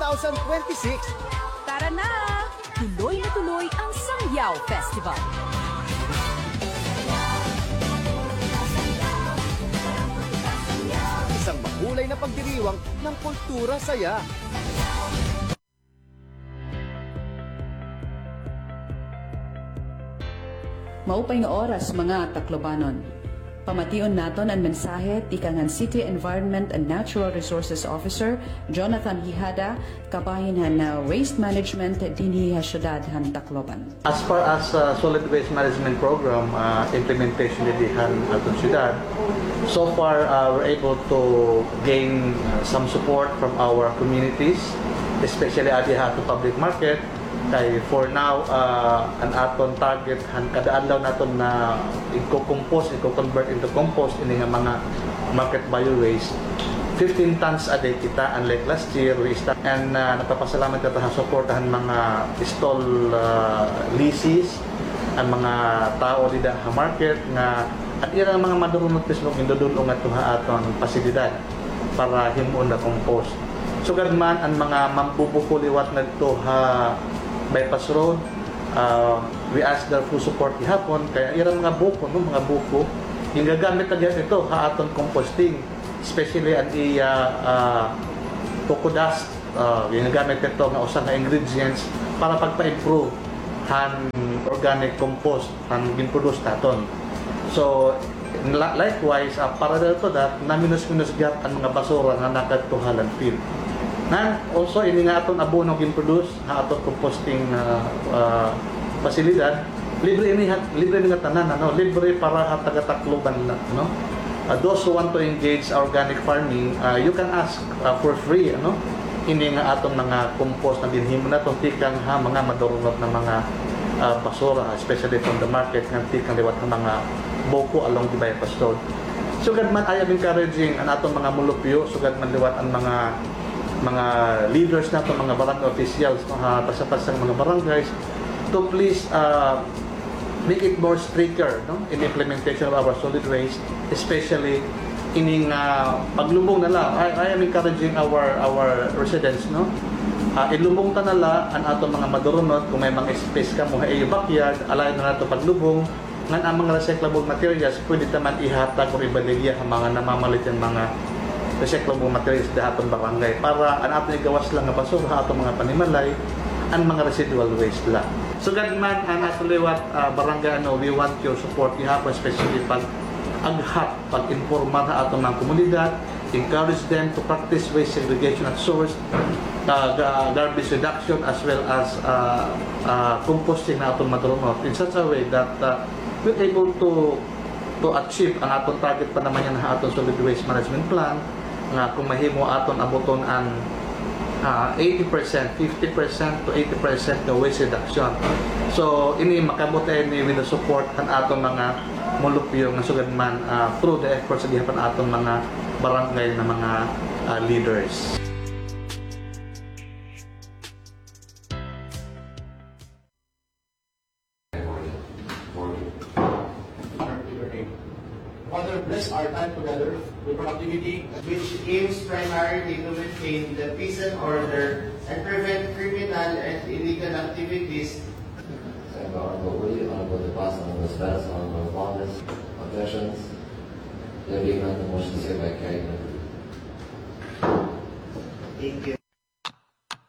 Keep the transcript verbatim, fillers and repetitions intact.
twenty twenty-six. Tara na! Tuloy na tuloy ang Sangyaw Festival. Isang makulay na pagdiriwang ng kultura saya. Maupay nga oras, mga Taclobanon. Pamation naton an mensahe tikang han City Environment and Natural Resources Officer, Jonathan Hijada, kabahin han, ah, waste management dinhi ha syudad han Tacloban. As far as, ah, solid waste management program, ah, implementation dinhi han aton syudad, so far, ah, we're able to gain, ah, some support from our communities, especially adi ha aton public market. Kay for now, ah, an aton target han kada adlaw naton na igko-compose, igko-convert into compost ini nga mga market bio waste, fifteen tons a day kita, unlike last year, we start. And, ah, nagpapasalamat kita ha suporta han mga stall, ah, lessees, an mga tawo dida ha market nga an ira mga madurunot mismo gindudul-ong ngadto ha aton pasilidad para himuon na compost. Sugad man an mga mambubuko liwat ngadto ha bypass road, ah, we ask their full support gihapon, kay an ira mga buko, no, mga buko, gingagamit na gihapon ito ha aton composting, especially an iya, ah, coco dust, ah, gingagamit ito nga usa nga ingredients para pagpa-improve han organic compost an gin-produce naton. So, la-, likewise, ah, parallel to that, naminus-minus gihap an mga basura nga nakadto ha landfill. And also, ini nga aton abono gin-produce ha aton composting, ah, ah, pasilidad, libre ini ha, libre ini nga tanan, ano, libre para ha taga-Tacloban la, no? Ah, those who want to engage organic farming, ah, you can ask, ah, for free, ano, ini nga aton mga compost nga ginhimo naton tikang ha mga madurunot na mga, ah, basura, especially from the market, nga tikang liwat ha mga buko along the bypass road. Sugad man, I am encouraging an aton mga mulupyo, sugad man liwat an mga, mga leaders naton, mga barangay officials, no, ha tagsa-tagsa nga mga barangays, to please, ah, make it more stricter, no, in implementation of our solid waste, especially ining, ah, paglubong na la. I, I am encouraging our, our residents, no. Ah, ilubong ta na la an aton mga madurunot. Kon may mga space kamo ha iyo backyard, allow na naton paglubong. Ngan an mga recyclable materials, pwede ta man ihatag or ibaligya ha mga namamalit hin mga recyclable materials dida ha aton barangay para an aton igawas la nga basura ha aton mga panimalay, an mga residual waste la. Sugad man an aton liwat, ah, barangay, ano, we want your support gihapon, especially pag-aghat, pag-informar ha aton mga komunidad, encourage them to practice waste segregation at source, ah, ga-, garbage reduction, as well as, ah, ah, composting na aton madurunot in such a way that, ah, we're able to, to achieve an aton target pa naman yana ha aton solid waste management plan, nga kon mahimo aton abuton an, ah, eighty percent, fifty percent to eighty percent nga waste reduction. So, ini makaabot ini with the support han aton mga mulupyo nga sugad man, ah, through the efforts gihapon han aton mga barangay nga mga, ah, leaders. Father, bless our time together with productivity, which aims primarily to maintain the peace and order and prevent criminal and illegal activities. Sa Honorable Willie, Honorable De Paz, Honorable Perez, Honorable Bondes, objections? There being none, the motion is hereby carried. Thank you.